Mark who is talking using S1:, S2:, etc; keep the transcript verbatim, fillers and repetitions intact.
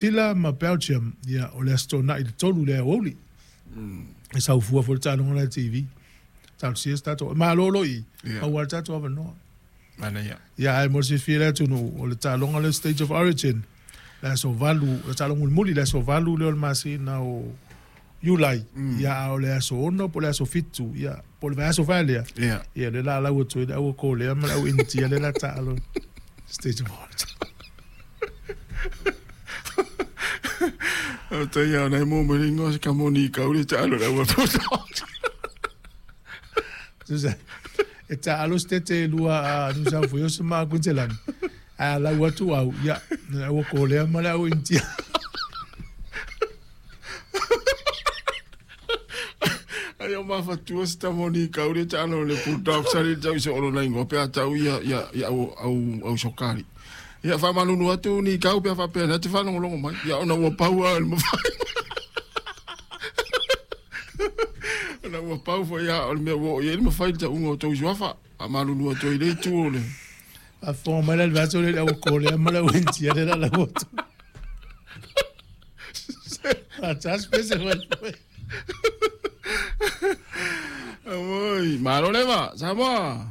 S1: Sila ma Belgium, ia, o le Aso Toonai le tolu le aoauli. E saufua foi le taaloga la i le T V. Talosia se tatou malolo i,
S2: Ia.
S1: Aua le tatou avanoa.
S2: Manaia.
S1: Ia, ae mo le silafia e le atunuu, o le taaloga lea State of Origin, le aso valu, le taaloga mulimuli, le aso valu lea o le masina o Iulai. Ia, a o le aso ono po o le aso fitu, ia, po o le vaiaso fae lea.
S2: Ia.
S1: Ia, le la lau atu ai le au Kolea ma le au Initia le la taalo State of Origin.
S2: O te ia, nei mō me ringo se ka moni ka uri taalo le au Bulldog.
S1: Susa, e taalo se tete lua a New South Wales ma Queensland. A lau atu au, ia, le au Kolea ma le au Initia.
S2: Ai o mafatua se tamoni ka uri taalo le Bulldog sa le tau se ono nei ngope a tau ia, ia, ia au, au, au sokari. Ia whamanunu atu ni kau pea whapea na te whanongolongo mai. Ia ona ua pau a le mawhai. Ona ua pau fo ia o le mea ua o ia le mawhai le taunga o tau suafa. Whamanunu atu i le tu o le.
S1: A fō mai la le vato le au Kolea ma le au Initia le la la atu. A tas pese mai.
S2: Oi, malo leva, Samoa.